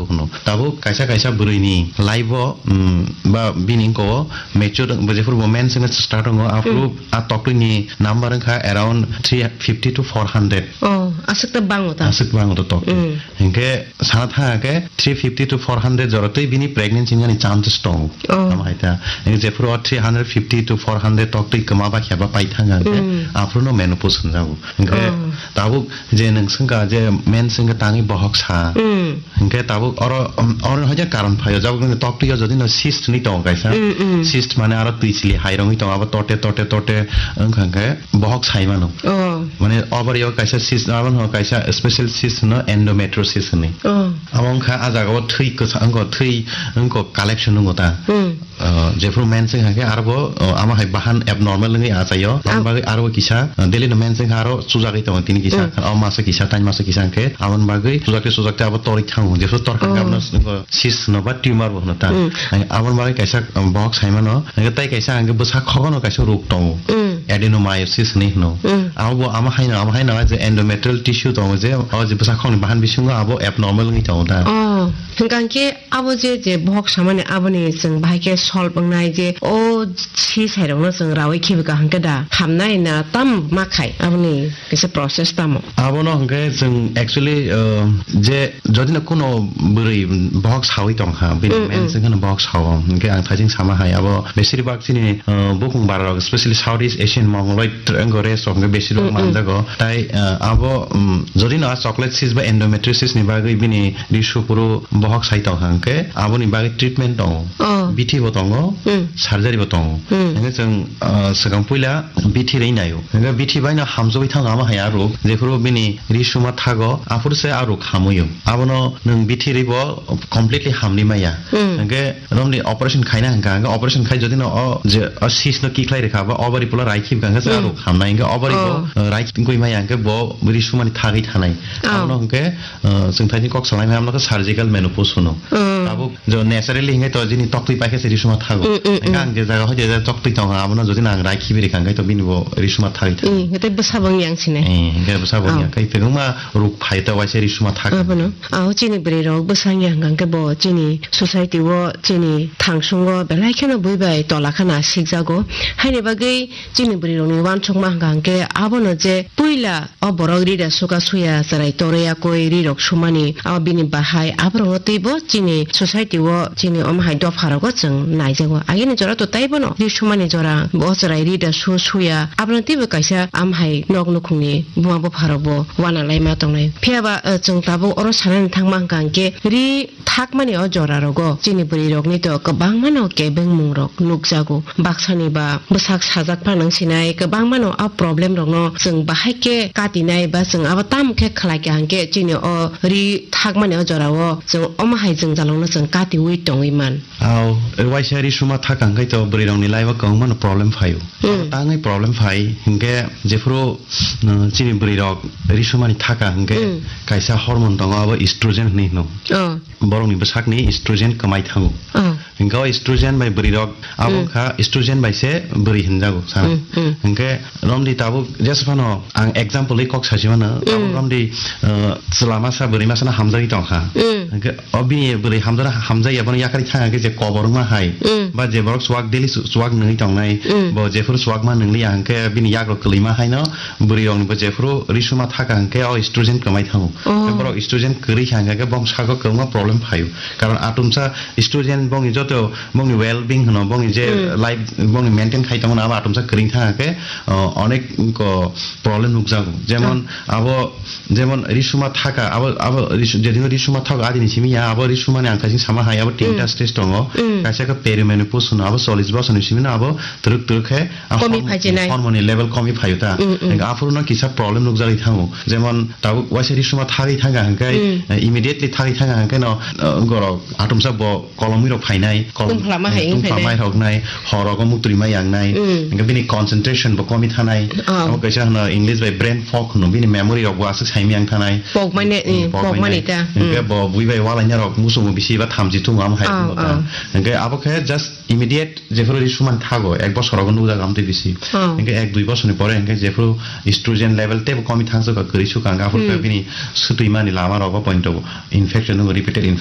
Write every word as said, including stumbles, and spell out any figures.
Hwno. Tabuk kaisa kaisa bwrwini life o, mm, ba bini wngkha o mature, bo jephuru bo mens wngwi start wngo, aphuru Hmm. a toktwini number wngkha around three fifty to four hundred. Oh, aswk ta bango ta? Aswk bango ta toktwi. Hmm. Hinkhe sana thang khe three fifty to four hundred jora twi bini pregnancy wngani chances tongo. Oh. Tamo hai ta. Hinkhe jephuru o three hundred fifty to four hundred toktwi kwma ba kheba pai thang khe Hmm. aphuru no menopause hwnjago. Hinkhe Oh. tabuk je nwng swngkha je mens wngkha tangwi bohok sa. Hmm. Hinkhe tabuk oro, um, oro haja karon phaio, jabuk nini toktwi o jodi no cyst ni tongo kaisa. Mm, mm. Cyst mane aro twi chili hai rongwi tongo, abo tote, tote, tote wngkha hinkhe bohok sai mano. Oh. Mane ovary o kaisa cyst, abo no kaisa special cyst no endometriosis hwnwi. Oh. Abo wngkha a jaga o thwi kwsa wngkha, thwi wngkha collection wngkha ta. Mm. Ah, jephuru mens wngkha khe aro bo, ah, ama hai bahan abnormal wngwi achaio. Am- Aboni bagwi aro bo kisa, ah, daily no mens wngkha aro chujagwi tongo tini kisa. Mm. O masa kisa, tai masa kisa hwnkhe aboni bagwi chujakte chujakte abo torwi thango. Jephuru torkha khe Oh. abono cyst hwno ba tumor bo hwno ta. Mm. Ang aboni bagwi kaisa, um, bohok sai mano. Hwnkhe tai kaisa ang bwsa khogono kaisa rok tongo. Mm. Adenomyosis hwnwi hwno. Mm. Abo bo ama haino, ama haino je endometrial tissue tongo je, o je bwsa khokni bahan bisingo abo abnormal wngwi tongo ta. Oh, hwnkhe Abo je, je bohok samani aboni chwng bahai khe solve wngnai je o si sairokno chwng raui khibi kaham khe da hamnai na tam ma khai aboni kisa process tamo? Abono hwnkhe chwng actually, uh, je jodi no kuno bwrwi bohok saui tong kha, bini Mm, mens mm. Wngkhano bohok sao, hwnkhe ang thajing sama hai abo besir bak chini, uh, bukung bara rok, especially South East Asian Mongoloid triangle race rok hwnkhe besir bak Mm, mm. Manjago. Tai, uh, abo, um, jodi no a chocolate cyst ba endometriosis ni bagwi bini Ri sukuru bohok sai tong kha hwnkhe aboni bagwi treatment tongo. Oh. Bithi bo tongo, Hmm. surgery bo tongo. Hmm. Hwnkhe chwng, ah, swkang puila bithi rwi naio. Hwnkhe bithi baino hamjagwi thango ama hai a rok. Jephuru bini ri suma thago, aphuru se a rok hamwi-o. Abono nwng bithi rwi bo completely hamni maya. Hmm. Hwnkhe romni operation khaina hwnkha, hwnkhe operation khai jodi no o je o cyst no kikhlai rwkha ba ovary pulo rai khibkha hwnkhe se a Hmm. rok hamnai. Hwnkhe ovary bo, Oh. ah, rai khibwi maya hwnkhe bo ri sumani thagwi thanai. Oh. Abono hwnkhe Uh, chwng thani kok salai maya, amno khe surgical menopause hwno. Mm. Tabuk jo naturally hingai to jini toktwi paikhe se risuma thago. Mm, mm, Hinga mm. Ang je jaga hoide je toktwi tongo, abono jodi nang rai khibi rikha, hingai to bini bo risuma thagwi thago. Mm, tei bwsabo wng yang sine. Eh, hingai bwsabo wng Oh. yang. Kai kwbangma ruk phai to waisa risuma thag. Abono. Aw, chini bwrwi rok bwsa wng yang hwnkhe bo chini society o, chini thangsungo belai kheno bui bai tola khana sikjago. Haini bagwi chini bwrwi rokni uansukma hwnkha hwnkhe abono je puila O borok ri da suka suya chwrai torwi yakwi ri rok sumani, o bini bahai aborokno twibo chini society o chini omo hai dopha rogo chwng naijago. Agini jora to taibono ri sumani jora, bo chwrai ri da su suya, abono twibo kaisa am hai nok nukhungni buma bupha rok bo uana lai ma tongnai. Phiya ba, eh, chwng tabuk oro sanani thangma hwnkha hwnkhe ri Thakmani o jora rogo chini bwrwi rokni to kwbangma no kebengmung rok nukjago. Baksani ba bwsak sajak phano wng sinai kwbangma no a problem rok no chwng bahai khe katinai ba chwng abo tamo khe khlai kha hwnkhe chini o ri thakmani o jora o chwng omo hai jwngjalrok no chwng katiwi tongwi man. Aw, waisa ri suma thaka hwnkhe to bwrwi rokni life o kwbangma no problem phaio. Hmm. Tangwi problem phai hwnkhe jephuru, uh, chini bwrwi rok ri sumani thaka hwnkhe Hmm. kaisa hormone tongo abo estrogen hinwi hino. Oh. Borokni bwsakni estrogen kwmai thango. Oh. Hwnkhe o estrogen bai bwrwi rok abo Mm. wngkha estrogen bai se bwrwi hinjago sana. Mm, mm. Hwnkhe romdi tabuk jesa phano ang example wi kok sasi mano, tabuk Mm. romdi, uh, chwla masa bwrwi masa no hamjagwi tongkha. Mm. Hwnkhe o bini bwrwi hamjak hamjakya bono yakarwi thangkha khe je kobor wngma hai Mm. ba je borok chuwak daily chu-, chuwak nungwi tongnai, Mm. bo jephuru chuwak ma nungliya hwnkhe bini yagrok kwlwima haino bwrwi rokni bo jephuru ri suma thaka hwnkhe o estrogen kwmai thango. Oh. Hwnkhe borok estrogen kwrwi kha hwnkhe bong sago kwbangma problem phaio. Karon atomsa estrogen bongni joto bongni well being hwno, bongni je Hmm. life bongni maintain khai tongmani abo atomsa kwrwi thang khe, o, onek ko problem nukjago. Jemon Hmm. abo, jemon risuma thaka, abo, abo risu-, jedino risuma thago adini simi ya, abo risumani ang kaising sama hai, abo tinta Hmm. stage tongo. Hmm. Kaisa khe perimenopause hwno, abo chollish bosorni simi no abo twrwk twrwk khe, a, Komi hormo-, phaijinai. Hormone level komi phaio ta. Mm, mm. Hingke aphuru no kisa problem nukjagwi thango. Jemon tabuk waisa risuma thagwi thangkha hingke, Mm. eh, immediately thagwi thangkha hingke no, eh, gorok atomsa bo kolomwi rok phainai, kolom-, Tungphla ma hai eh, wng tungphla phainai. Mai rok nai, hor rogo muktwi ma yang nai. Mm. Hingke bini concentration bo komi thanai. Oh. Abo kaisa hwno English bai brain fog hwno, bini memory rok bo aswk saimya wng thanai. Pokmani, Mm, eh, pokmani pokmani nai. Ta. Hingke Mm. bo bui bai walaina rok musugo bisi ba thamchi thungo amo hai Oh, thungo ta. Oh. Hingke abo khe just immediate jephuru risumani thago, ek bosor rogo nukjago amtwi bisi. Oh. Hingke ek dui bosorni pore hingke jephuru estrogen level teibo komi thangsuka, kwrwi suka, hingke aphuru khe Hmm. bini swtwimani lama rogo pointo infection, repeated infection.